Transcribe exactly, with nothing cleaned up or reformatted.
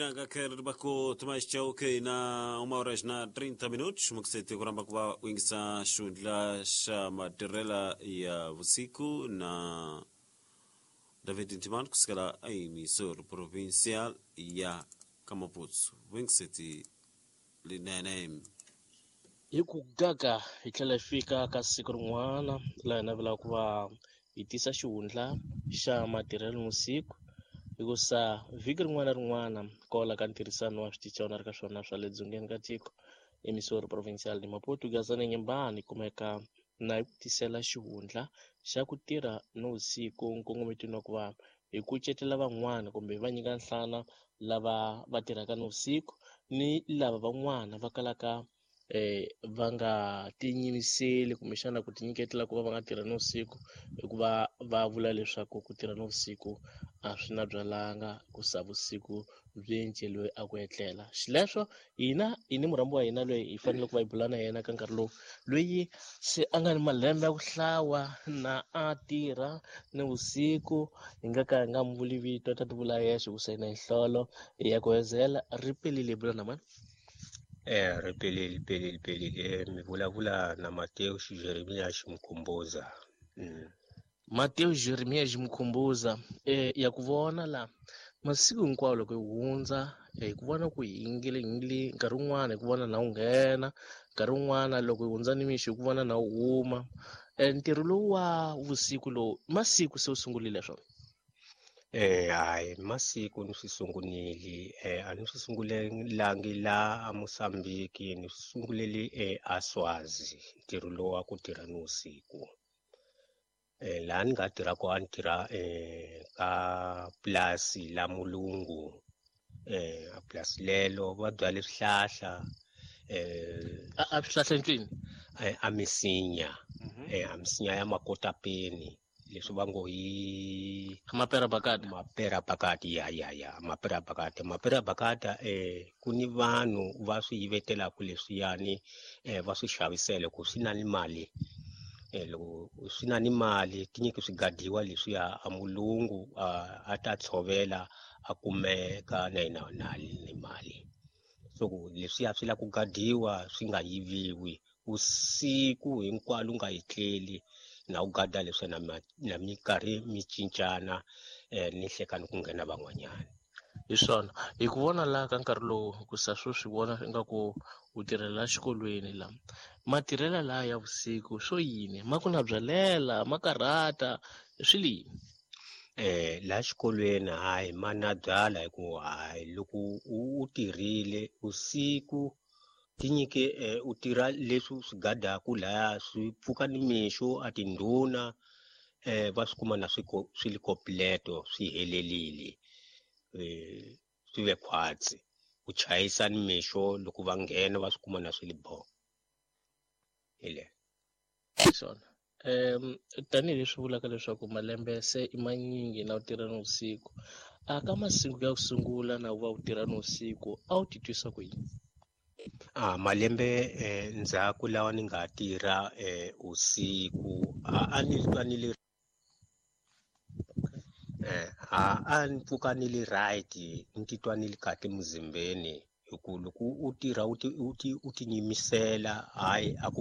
Ndanga kero bako tomás chauke na uma hora na trinta minutos mukisete kuramba kuva kuingisa xundla xa matirela ya vusiku na David Ntimani kusukela emisor provincial ya Kamaputu wingiseti linene. Hi ku gaga hi tlhela hi fika ka siku rin'wana laha hi navelaka ku va hi tisa xihundla xa matirhelo nivusiku, hikusa vhiki rin'wana na rin'wana kwala ka ntirhisano wa switichi na ri ka swona swa le dzongeni ka tiko emisori provincial ni Maputo Gazana Nyembani kumeka na hi ku tisela xihundla xa ku tirha nivusiku nkongometweni wa ku va hi kucetela van'wana kumbe va nyika nhlana lava va tirhaka nivusiku ni lava van'wana va kalaka eh va nga tinyimiseli kumbexana ku tinyiketela ku va va nga tirha nivusiku, hikuva va vula leswaku ku tirha nivusiku a swi na byalanga ku sa vusiku byi enceliwe a ku etlela. Xileswo hina hi ni murhambi wa hina loyi hi fanele ku va hi bula na yena ka nkarhi lowu, loyi se a nga ni malembe ya ku hlawa na a tirha nivusiku, hi nga ka hi nga n'wi vuli vito, ta ti vula yexe ku sayina hi nhlolo ya ku hezela. Ri pelile, hi bula na mani? Eh, ri pelile, pelile, pelile. Mi vulavula na Mateo Jeremia Ximkhumbuza. Mm. Mateo Jeremia Ximkhumbuza, eh, ya ku vona la masiku hinkwawo loko hi hundza, hi ku vona ku hi yingile, yingile nkarhi wun'wana hi ku vona na wu nghena, nkarhi wun'wana loko hi hundza nimixo hi ku vona na wu huma. Eh, ntirho lowu wa vusiku lowu masiku se wu sungurile swona? Eh, hayi, masiku ni swi sungunile. Eh, a ni swi sungulelangi la a Mozambique, ni swi sungulele eh, a Swazi, ntirho lowu wa ku tirha nivusiku. Eh, laha ni nga tirha kona, a ni tirha, eh, ka purasi la mulungu. Eh, a purasi lelo va byale swihlahla, eh, A, a swihlahla ncini? Eh, a misinya. Mhm. Eh, a misinya ya makotapeni, leswi va ngo hi Mapera bakata. Mapera bakata, ya, ya, ya, mapera bakata. Mapera bakata, eh, ku ni vanhu va swi yivetelaka leswiyani, eh, va swi xavisela ku swi na ni mali. Eh, loko swi na ni mali, tinyiki swi gadiwa leswiya a mulungu, a, a ta tshovela, a kumeka na yena na ni mali. So ku leswiya swi lava ku gadiwa swi nga yiviwi vusiku hinkwalo u nga etleli, na u gada leswi na ma-, na minkarhi mi cincana, eh, ni hlekani ku nghena van'wanyana. Hi swona, hi ku vona laha ka nkarhi lowu, ku sa swo swi vona ingaku u tirhela xikolweni la. Matirhela laha ya vusiku swo yini? Ma ku na byalela, ma karhata, swi li yini? Eh, laha xikolweni hayi ma na byala, hikuva hayi loko u, u tirhile vusiku tinyike, eh, u tirha leswi swi gadaku lahaya, swi pfuka nimixo a tindhuna, eh, va swi kuma na swi ko-, swi li kompleto, swi helelile, eh, swi ve khwatsi. U chayisa nimixo loko va nghena va swi kuma na swi li bo. Hi le. Hi swona. Em, tanihileswi vulaka leswaku malembe se i manyingi na u tirha nivusiku, a ka masiku ya ku sungula na u va u tirha nivusiku a wu titwisa ku yini? Ah, malembe, eh, ndzhaku lawa ni nga tirha, eh, usiku, a, a ni twa ni li, eh, a, a ni pfuka ni li right, ni titwa ni li kahle muzimbeni, hi ku loko u tirha u ti, u ti, u ti nyimisela, hayi, a ku